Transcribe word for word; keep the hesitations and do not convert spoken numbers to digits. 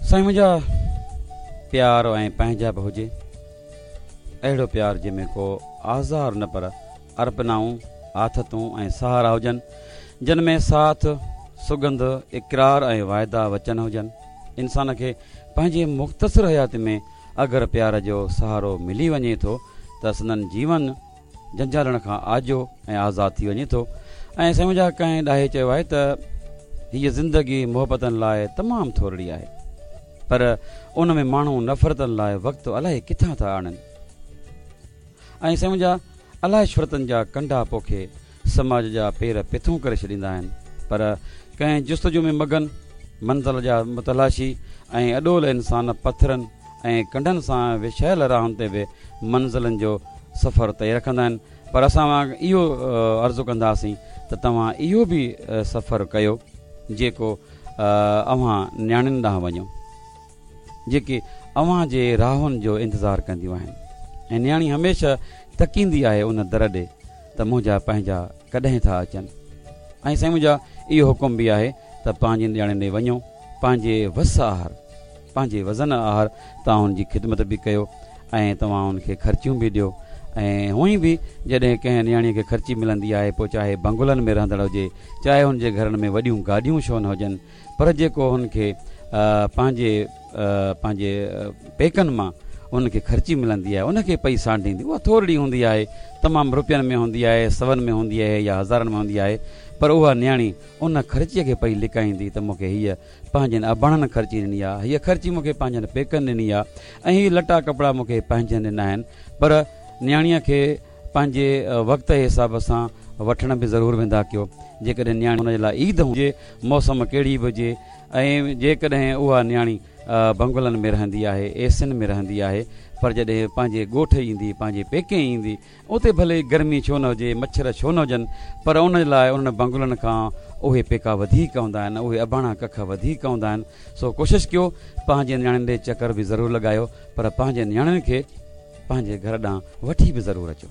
سائين منهنجا، پيار ۽ پنهنجا به هجي، اهڙو پيار جنهن ۾ ڪو آزار نه پر ارپنائون، آٿتون ۽ سهارا هجن، جن ۾ ساٿ، سڳنڌ، اقرار ۽ واعدا وچن هجن. انسان کي پنهنجي مختصر حياتي ۾ اگر پيار جو سهارو ملي وڃي ٿو ته سندن جيون جنجالن کان آجو ۽ آزاد ٿي وڃي ٿو. ۽ سائين منهنجا، ڪنهن ڏاهي چيو آهي ته هيء زندگي محبتن لاء تمام ٿورڙي آهي، پر ان ۾ ماڻهو نفرتن لاء وقت الائي ڪٿان ٿا آڻن. ۽ سائين منهنجا، الائي شهرتن جا ڪنڊا پوکي سماج جا پير پٿون ڪري ڇڏيندا آهن، پر ڪنهن جستجو ۾ مگن منزل جا متلاشي ۽ اڏول انسان پٿرن ۽ ڪنڊن سان وڇايل راهن تي به منزلن جو سفر طئي رکندا آهن. پر اسان اهو عرض ڪنداسين ته توهان اهو به سفر ڪيو جيڪو اوهان نياڻين ڏانهن وڃو، جيڪي اوهان جي راهن جو انتظار ڪنديون آهن، ۽ نياڻي هميشه تڪيندي آهي ان در ڏي ته منهنجا پنهنجا ڪڏهن ٿا اچن. ۽ سائين منهنجا، اهو حڪم به آهي ته پنهنجي نياڻين ڏي وڃو، پنهنجي وس آهر، پنهنجي وزن آهر توهان ان جي خدمت به ڪيو ۽ توهان ان کي خرچيون به ڏيو. ۽ هونئن به جڏهن ڪنهن نياڻيء کي خرچي ملندي آهي، پوء چاهي بنگلن ۾ رهندڙ هجي، چاهي هن جي گهرن ۾ وڏيون گاڏيون ڇو نه هجن، پر جيڪو هن کي پنهنجي پنهنجي پيڪن مان ان کي خرچي ملندي آهي، ان کي پئي سانڍيندي، اها ٿورڙي هوندي آهي، تمام روپين ۾ هوندي آهي، سون ۾ هوندي آهي يا هزارن ۾ هوندي آهي، پر اها نياڻي ان خرچيء کي پئي لڪائيندي ته مون کي هيء پنهنجن اباڻن خرچي ڏني آهي، هيء خرچي مون کي پنهنجن پيڪن ڏني آهي ۽ هي لٽا ڪپڙا مون کي پنهنجن ڏنا آهن. پر نياڻيء کي پنهنجي وقت جي حساب سان وٺڻ به ضرور ويندا ڪيو. جيڪڏهن نياڻي ان جي لاء عيد هجي، موسم ڪهڙي به هجي، ۽ جيڪڏهن اها نياڻي بنگلن ۾ رهندي آهي، ايسين ۾ رهندي آهي، پر جڏهن پنهنجي ڳوٺ ايندي، پنهنجي پيڪي ايندي، اتي ڀلي گرمي ڇو نه هجي، مڇر ڇو نه هجن، پر ان لاء انهن بنگلن کان اهي پيڪا وڌيڪ هوندا آهن، اهي اباڻا ڪک وڌيڪ هوندا آهن. سو ڪوشش ڪيو پنهنجي نياڻين ڏي چڪر به ضرور لڳايو، پر پنهنجي نياڻين کي پنهنجي گهر ڏانهن وٺي به ضرور اچو.